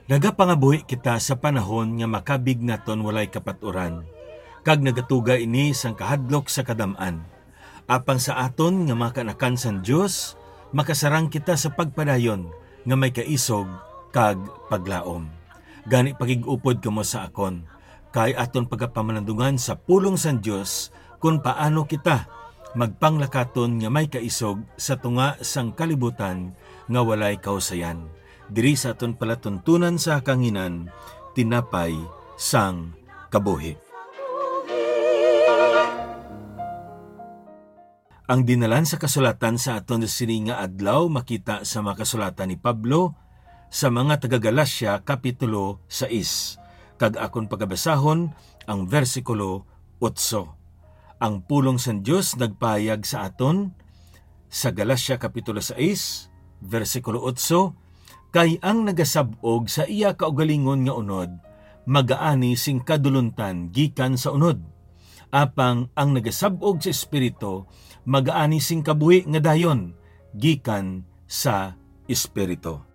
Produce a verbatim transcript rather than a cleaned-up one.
Nagapangabuhi kita sa panahon nga makabig naton walay kapaturan, kag nagatuga ini sang kahadlok sa kadam-an. Apang sa aton nga mga kaanakan sang Dios, makasarang kita sa pagpadayon nga may kaisog kag paglaom. Gani, pakig-upod kamo sa akon, kay aton pagapamalandungan sa pulong sang Dios kon paano kita magpanglakaton nga may kaisog sa tunga sang kalibutan nga walay kahusayan. Diri sa aton palatuntunan sa kahanginan, tinapay sang kabuhi. Ang dinalan sa kasulatan sa aton sini nga adlaw makita sa mga kasulatan ni Pablo sa mga taga-Galacia, Kapitulo sais, kag akon pagabasahon ang bersikulo otso. Ang pulong sang Dios nagpahayag sa aton sa Galacia, Kapitulo sais, bersikulo otso, "Kay ang nagasab-og sa iya kaugalingon nga unod, magaani sing kadulontan gikan sa unod. Apang ang nagasab-og sa Espiritu, magaani sing kabuhi nga dayon gikan sa Espiritu."